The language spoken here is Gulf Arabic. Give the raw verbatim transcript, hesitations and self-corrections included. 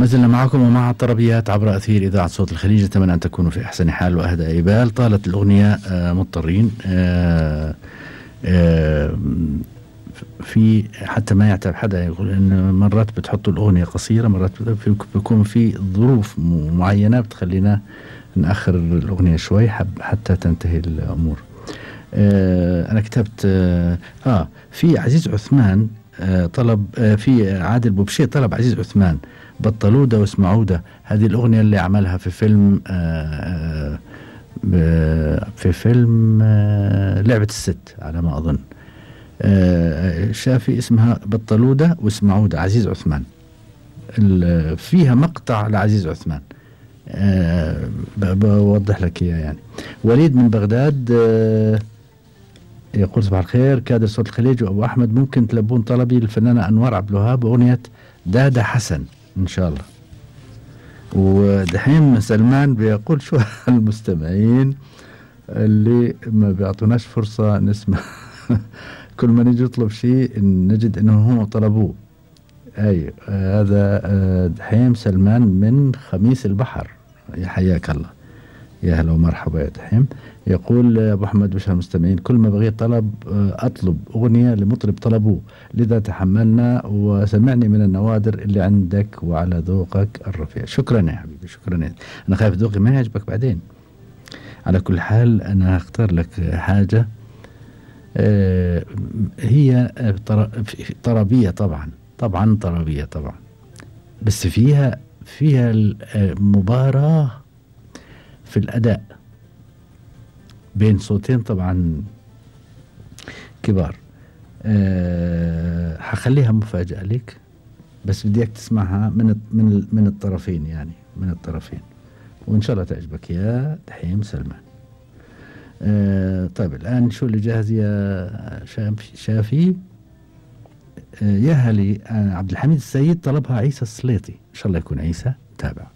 ما زلنا معكم ومع الطربيات عبر أثير إذاعة صوت الخليج. أتمنى أن تكونوا في أحسن حال وأهدى إيبال. طالت الأغنية آه مضطرين آه آه في حتى ما يعتب حدا يقول إن مرات بتحطوا الأغنية قصيرة، مرات بيكون في ظروف معينة بتخلينا نأخر الأغنية شوي حتى تنتهي الأمور. آه أنا كتبت آه, آه في عزيز عثمان آه طلب آه في عادل بوبشي طلب عزيز عثمان بطلودة واسمعودة. هذه الأغنية اللي عملها في فيلم آه آه في فيلم آه لعبة الست على ما أظن. آه شافي اسمها بطلودة واسمعودة عزيز عثمان. فيها مقطع لعزيز عثمان أه بوضح لك إياه يعني. وليد من بغداد أه يقول صباح الخير كادر صوت الخليج وأبو أحمد، ممكن تلبون طلبي للفنانة أنوار عبد الوهاب أغنية دادا حسن إن شاء الله. ودحين سلمان بيقول شو المستمعين اللي ما بيعطوناش فرصة نسمع كل ما نجي نطلب شيء نجد إنه هم طلبوه. أي آه هذا آه دحيم سلمان من خميس البحر، يا حياك الله، يا هلا ومرحبا يا دحيم. يقول أبو أحمد بشر المستمعين كل ما بغيت طلب آه أطلب أغنية لمطرب طلبوه، لذا تحملنا وسمعني من النوادر اللي عندك وعلى ذوقك الرفيع. شكرا يا حبيبي، شكرا يا. أنا خايف ذوقي ما يعجبك بعدين. على كل حال أنا أختار لك حاجة آه هي طربية طبعا طبعا طربية طبعا، بس فيها فيها المباراة في الأداء بين صوتين طبعا كبار. أه حخليها مفاجأة لك، بس بديك تسمعها من من من الطرفين يعني من الطرفين، وإن شاء الله تعجبك يا دحيم سلمان. أه طيب الآن شو اللي جاهز يا شافي؟ شافي يا هلي عبد الحميد السيد طلبها عيسى السليطي، إن شاء الله يكون عيسى. تابع.